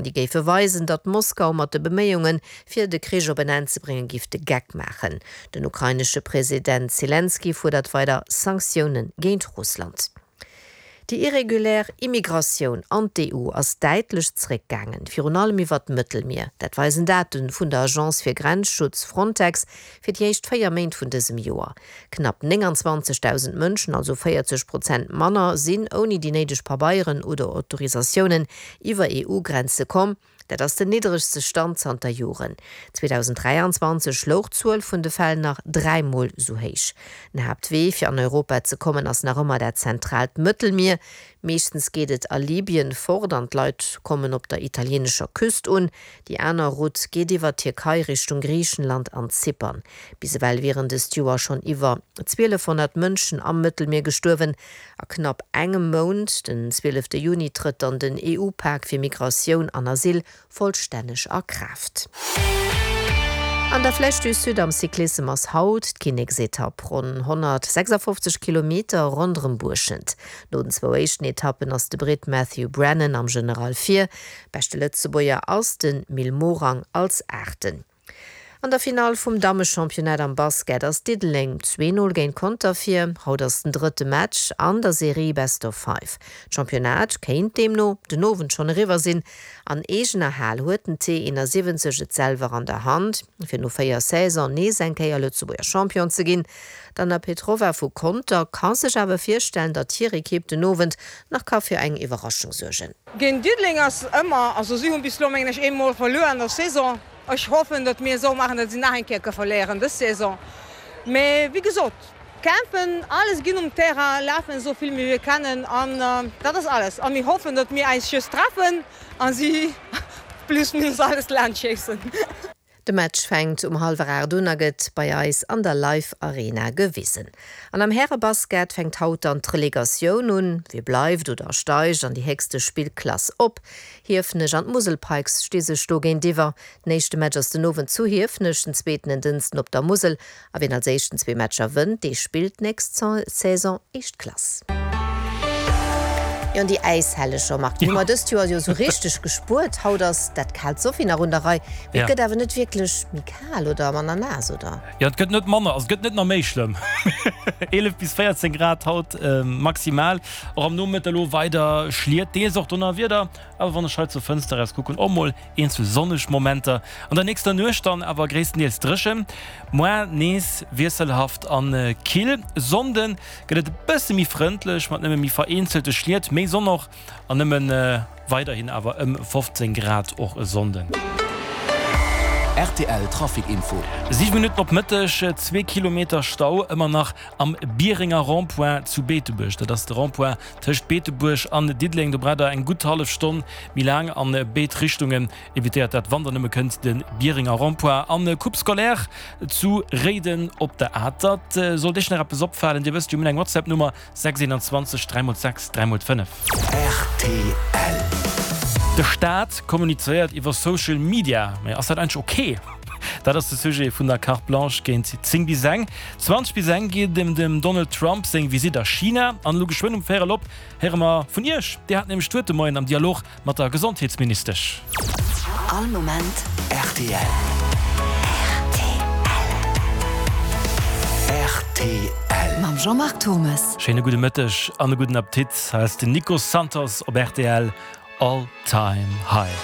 Déi géife weisen, datt Moskau mat de Beméiunge fir de Krich op en Enn ze bréngen, giff de Geck maachen. Den ukrainesche President Selenskyj fuerdert weider Sanktioune géint Russland. Déi irregulär Immigratioun an d'EU ass däitlech zeréckgaangen, virun allem iwwer d'Mëttelmier. Dat weisen Date vun der Agence fir Grenzschutz Frontex fir déi éischt 4 Méint vun dësem Joer. Knapp 29.000 Mënschen, also 40 Prozent manner, sinn ouni déi néideg Pabeieren oder Autorisatiounen iwwer EU-Grenze komm. Dat ass den niddregste Stand zanter Joren. 2023 louch d'Zuel vun de Fäll nach dräimol sou héich. Den Haaptwee fir an Europa ze kommen ass nach ëmmer dat zentraalt Mëttelmier. Meeschtens geet et a Libyen fort an d'Leit kommen op der italieenescher Küst un. Déi aner Route geet iwwer d'Tierkei Richtung Griichenland an Zypern. Bis ewell wieren dëst Joer schonn iwwer 1.200 Mënschen am Mëttelmier gestuerwen. A knapp engem Mount, den 12 Juni, trëtt dann den EU-Pak fir Migratioun an Asyl vollstänneg a Kraaft. An der Flèche du Sud am Cyclissem ass haut d'Kinneksetapp, ronn 156 Kilometer ronderëm Buerschent. No den zwou éischten Etappen ass de Britt Matthew Brennan am General vir. Beschte Lëtzebuerger ass de Mil Morang als Aachten. An der Finall vum Dammechampionnat am Basket ass Diddeleng 2 0 géint Conter vir. Haut ass den drëtte Match an der Serie Best of Five. D'Championnat kéint deemno den Owend schonn eriwwer sinn. An eegener Hal huet den T71 et selwer an der Hand, fir no 4 Saison nees eng Kéier Lëtzebuerger Champion ze ginn. D'Anna Petrova vu Conter ka sech awer virstellen, datt hir Ekipp den Owend nach ka fir eng Iwwerraschung suergen. Géint Diddeleng ass ëmmer, also si hunn bis elo mengen ech eemol verluer an der Saison. Ech hoffen, datt mir esou maachen, datt si nach eng Kéier ka verléieren dës Saison. Mee wéi gesot, kämpfen, alles ginn um Terrain, lafen esou vill wéi mir kennen an dat ass alles. A mir hoffen, datt mir eis just treffen a si plus minus alles laanscht schéissen. De Match fänkt um hallwer 8 un a gëtt bei eis an der Live Arena gewisen. An am Härebasket fänkt haut dann d'Relegatioun un. Wie bleift oder steigt an déi héchste Spillklass op? Hiefenech an d'Musel Pikes sti sech do géintiwwer. Den éischte Match ass den Owend zu Hiefenech, den zweeten en Dënsten op der Musel. A wien als éischten zwee Matcher wënnt, dee spillt d'nächst Saison éischt Klass. Jo, an déi Äishelleger, Marc, déi hu mer dëst Joer jo esou richteg gespuert. Haut ass dat kaalt Sophie nach un der Rei, mee et gëtt awer net wierklech méi kal oder manner naass, oder? Jo, et gëtt net manner, also et gëtt net nach méi schlëmm. 11 bis 14 Grad haut maximal. Och am Nomëtte elo weider Schliet, deels och Donnerwieder, awer wann ech hei zur Fënster eraus kucken, och mol eenzel sonneg Momenter. An der nächster Nuecht dann awer gréisstendeels dréchen, moar nees wiesselhaft an kill. Sonnde gëtt et e bësse méi frëndlech mat nëmme méi vereenzelte Schliet, méi Sonn och an nëmmen weiderhin awer ëm 15 Grad och e Sonnden. Rtl Trafic Info. 7 Minutten op Mëtteg, zwee Kilometer Stau ëmmer nach am Bierenger Rond-point zu Beetebuerg. Dat ass de Rond-point tëscht Beetebuerg an Diddeleng. Do braucht der eng gutt hallef Stonn méi laang an béid Richtungen. Evitéiert dat wann der nëmme kënnt de Bierenger Rond-point an Coupe scolaire zu Réiden op der Atert. Sollt iech nach eppes opfalen, dir wësst jo, mir hunn eng WhatsApp-Nummer 6 21 3 x 6 3 x 5. Rtl. De Staat kommunizéiert iwwer Social Media, mä ass dat eigentlech ok? Dat ass de Sujet vun der Carte Blanche géint 10 bis eng. 20 bis eng geet et ëm dem Donald Trump seng Visitt a China. An elo geschwënn um Véierel op héiere mer vun Iech. Dir hat nämlech d'Wuert de Moien am Dialog mat der Gesondheetsministesch. All Moment rtl. Rtl. Mam Jean-Marc Turmes. Schéine gudde Mëtteg an e gudden Appetit. Hei ass den Nico Santos op rtl All Time High.